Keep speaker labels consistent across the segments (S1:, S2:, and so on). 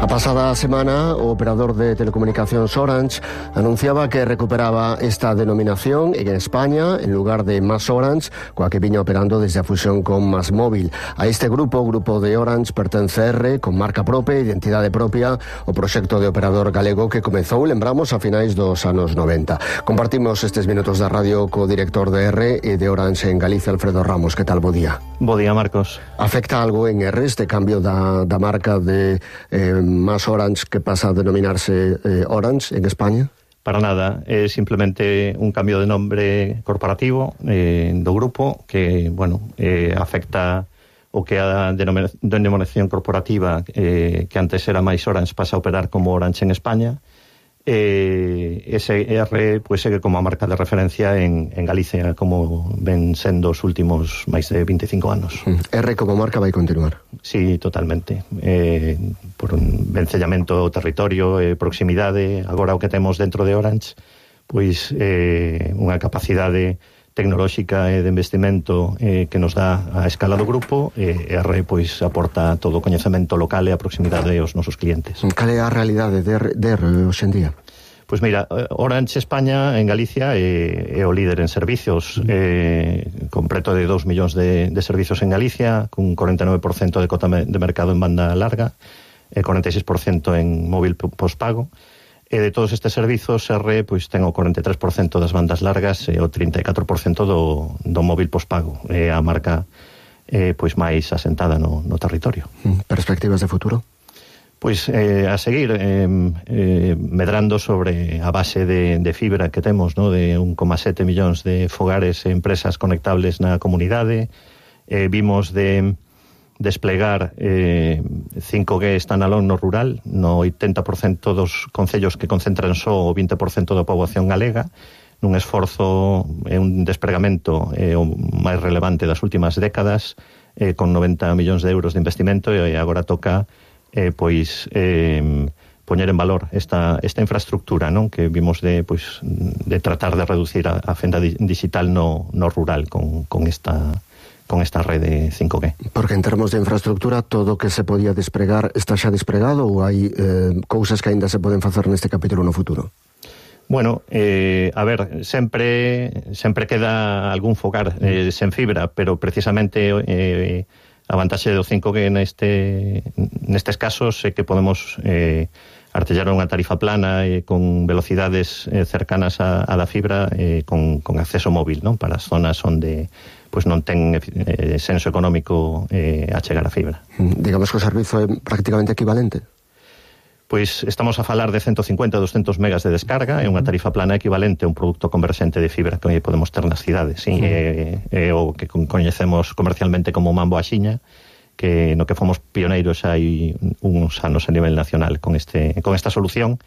S1: pasada semana, o operador de telecomunicacións Orange anunciaba que recuperaba esta denominación en España en lugar de Más Orange, coa que viña operando desde a fusión con Más Móvil. A este grupo de Orange, pertence R, con marca propia, identidade propia, o proxecto de operador galego que comezou, lembramos, a finais dos anos 90. Compartimos estes minutos da radio co director de R e de Orange en Galicia, Alfredo Ramos. Que tal? Bo día.
S2: Bo día, Marcos.
S1: Afecta algo en R este cambio da marca de Más Orange, que pasa a denominarse Orange en España?
S2: Para nada, é simplemente un cambio de nombre corporativo do grupo que, afecta o que a denominación corporativa que antes era Mais Orange pasa a operar como Orange en España. Ese R segue como a marca de referencia en Galicia, como ven sendo os últimos máis de 25 anos.
S1: R como marca vai continuar?
S2: Sí, totalmente. Por un vencellamento ao territorio, proximidade. Agora o que temos dentro de Orange, pois unha capacidade tecnolóxica e de investimento que nos dá a escala do grupo. R pois aporta todo o coñecemento local e a proximidade aos nosos clientes.
S1: Cal é a realidade de R hoxe en día?
S2: Pois mira, Orange España en Galicia é o líder en servicios, con preto de 2 millóns de servicios en Galicia, con 49% de cota de mercado en banda larga, 46% en móvil pospago. E de todos estes servizos, R pois ten o 43% das bandas largas e o 34% do móvil pospago. É a marca pois máis asentada no territorio.
S1: Perspectivas de futuro?
S2: Pois a seguir medrando sobre a base de fibra que temos, no, de 1,7 millóns de fogares e empresas conectables na comunidade. Vimos de desplegar 5G standalone no rural, no 80% dos concellos que concentran só o 20% da poboación galega, nun esforzo e un despregamento o máis relevante das últimas décadas, con 90 millóns de euros de investimento, e agora toca poñer en valor esta infraestructura, non, que vimos de tratar de reducir a fenda digital no rural con esta rede 5G.
S1: Porque en termos de infraestructura, todo o que se podía despregar está xa despregado, ou hai cousas que aínda se poden facer neste capítulo no futuro?
S2: Bueno, a ver, sempre queda algún fogar sen fibra, pero precisamente a vantaxe do 5G nestes casos é que podemos artellar unha tarifa plana con velocidades cercanas á da fibra, con acceso móvil, non, para as zonas onde pois non ten senso económico a chegar a fibra.
S1: Digamos que o servizo é prácticamente equivalente?
S2: Pois estamos a falar de 150-200 megas de descarga, é unha tarifa plana equivalente a un produto converxente de fibra que podemos ter nas cidades, sí? É o que coñecemos comercialmente como mambo axiña, que no que fomos pioneiros hai uns anos a nivel nacional con esta solución,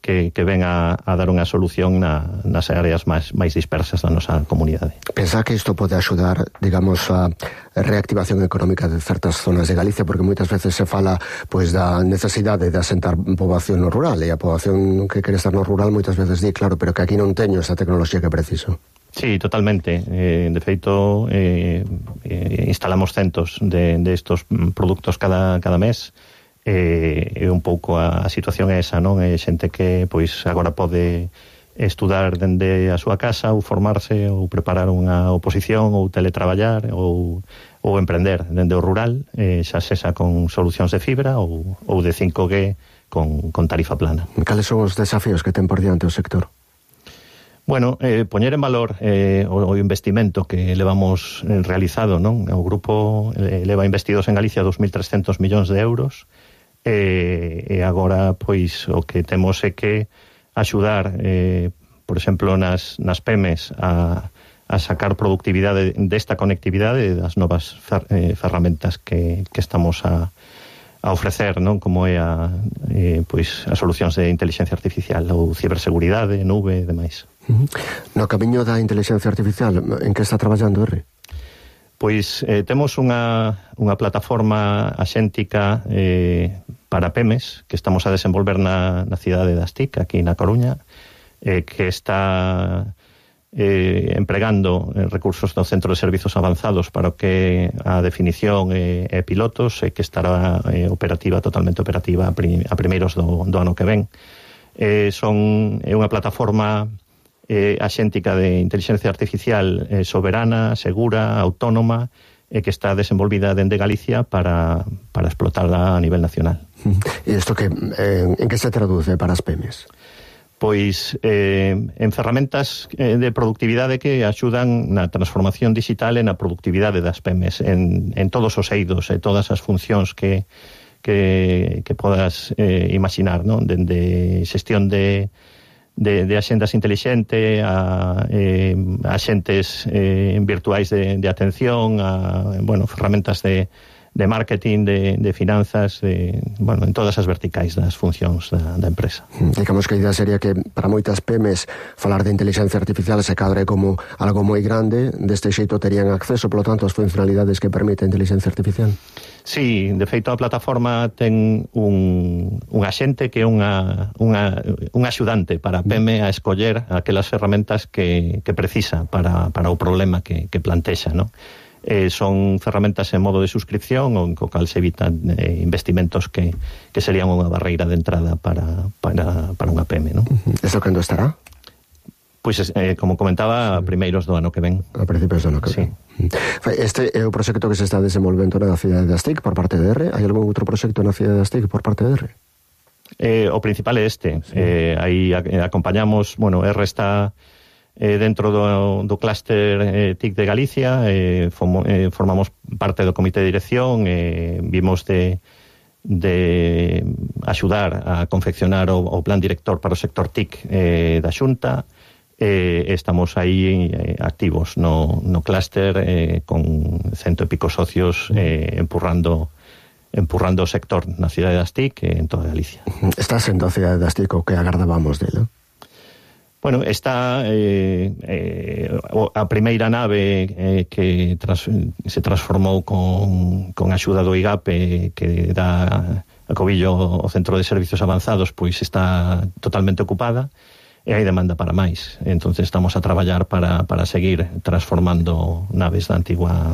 S2: que ven a dar unha solución nas áreas máis dispersas da nosa comunidade.
S1: Pensa que isto pode axudar, digamos, a reactivación económica de certas zonas de Galicia, porque moitas veces se fala pois da necesidade de asentar poboación no rural, e a poboación que quere estar no rural moitas veces di, claro, pero que aquí non teño esa tecnoloxía que preciso.
S2: Sí, totalmente. De feito, instalamos centos de estos produtos cada mes. É un pouco a situación é esa, non? É xente que pois agora pode estudar dende a súa casa, ou formarse, ou preparar unha oposición, ou teletraballar, ou emprender dende o rural, xa sexa con solucións de fibra ou de 5G con tarifa plana.
S1: Cales son os desafíos que ten por diante o sector?
S2: Bueno, poñer en valor o investimento que levamos realizado, non? O grupo leva investidos en Galicia 2.300 millóns de euros, e agora pois o que temos é que axudar por exemplo nas PEMES a sacar productividade desta conectividade, das novas ferramentas que estamos a ofrecer, non, como é pois as solucións de inteligencia artificial ou ciberseguridade, nube e demais.
S1: No camiño da inteligencia artificial, en que está traballando R?
S2: Pois temos unha plataforma axéntica para PEMES que estamos a desenvolver na cidade das TIC, aquí na Coruña, que está empregando recursos do Centro de Servizos Avanzados para que a definición e pilotos que estará totalmente operativa a primeiros do ano que ven. É unha plataforma axéntica de inteligencia artificial soberana, segura, autónoma, que está desenvolvida dende Galicia para explotarla a nivel nacional.
S1: E isto en que se traduce para as PEMES?
S2: Pois en ferramentas de productividade que axudan na transformación digital e na productividade das PEMES en todos os eidos e todas as funcións que podas imaginar, non? Dende xestión de axendas intelixente a axentes virtuais de atención, a ferramentas de marketing, de finanzas, en todas as verticais das funcións da empresa.
S1: Digamos que a idea sería que para moitas PEMES falar de inteligencia artificial se cadre como algo moi grande, deste xeito terían acceso, polo tanto, ás funcionalidades que permite a inteligencia artificial.
S2: Sí, de feito a plataforma ten un axente que é un axudante para a PEME a escoller aquelas ferramentas que precisa para o problema que plantexa, non? Son ferramentas en modo de suscripción o en co cal se evitan investimentos que serían unha barreira de entrada para unha PEME, non?
S1: Eso cando estará?
S2: Pois, como comentaba, a primeiros do ano que ven.
S1: A principios do ano que ven. Este é o proxecto que se está desenvolvendo na cidade das TIC por parte de R. Hai algún outro proxecto na cidade das TIC por parte de R?
S2: O principal é este. Aí acompañamos, R está dentro do clúster TIC de Galicia, formamos parte do comité de dirección, vimos de axudar a confeccionar o plan director para o sector TIC da Xunta. Estamos aí activos no clúster con 100 e pico socios empurrando o sector na cidade das TIC en toda Galicia.
S1: Está sendo a cidade das TIC o que agardábamos dela?
S2: Está a primeira nave que se transformou con axuda do IGAP que dá a cobillo ao Centro de Servizos Avanzados, pois está totalmente ocupada e hai demanda para máis. Entonces estamos a traballar para seguir transformando naves da antigua